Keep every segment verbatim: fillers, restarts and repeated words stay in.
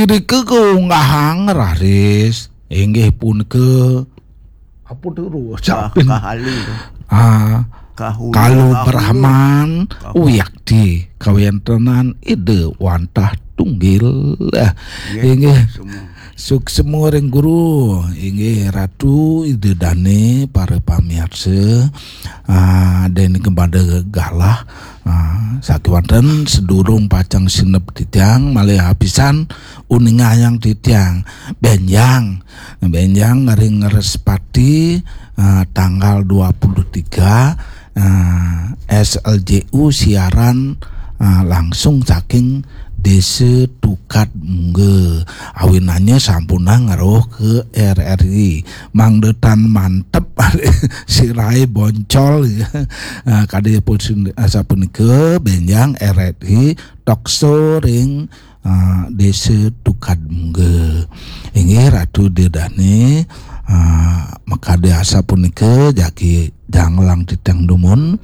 Nika kaunggahang raris inggih punika apa turu? Kah- Capin. Kahali. Ah, Kahulu, Kalu Kahulu. Brahman Kahulu. Wiakti kawentenan Ida wantah tunggil. Ah, Nggih, inggih. Semua. Suksema ring guru, inggih Ratu Ida Dane, para pamiarsa, ah, den kepada galah, ah, sakiwanten sedurung pacang sineb titiang malih apisan uningayang titiang benjang, benjang ring Respati, ah, tanggal dua puluh tiga, ah, S L J U siaran, ah, langsung saking Desa Tukad Mungga. Awinannya sampunang ngeruh ke R R I. Mangda tan mantep sirahe boncol, ya. Ah, kadi pun sin-, asapunika benjang R R I tokso ring, ah, Desa Tukad Mungga. Inggih Ratu Ida Dane, ah, makadi asapunika jagi janglang titiang dumun.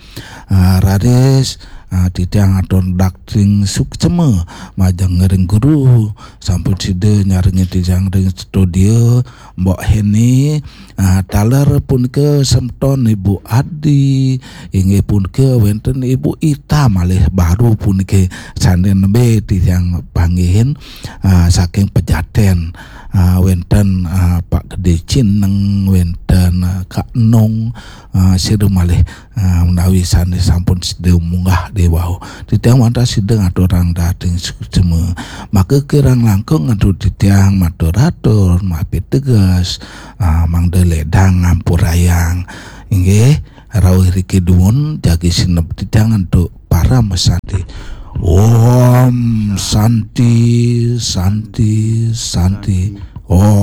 Ah, raris, ah, titiang atur dakting suksema majeng ring guru. Sampun sida nyarengin titiang ring studio, Mbok Heni, ah, taler punika semeton Ibu Adi, inggih punika wenten Ibu Ita malih baru punika sane nembe titiang panggihin, ah, saking Pejaten, ah, wenten, ah, Pak Gede Cineng, wenten, ah, Kak Nong, ah, sira malih, ah, menawi sane sampun sida munggah dewau. Titiang wantah sida ngaturang dating suksema. Maka kirang langkung ngatur titiang matur-atur, mapiteges, ah, mangda ledang ngampurayang. Inggih, rauh riki dumun jagi sineb titiang antuk parama santi. Om Santi, Santi, Santi.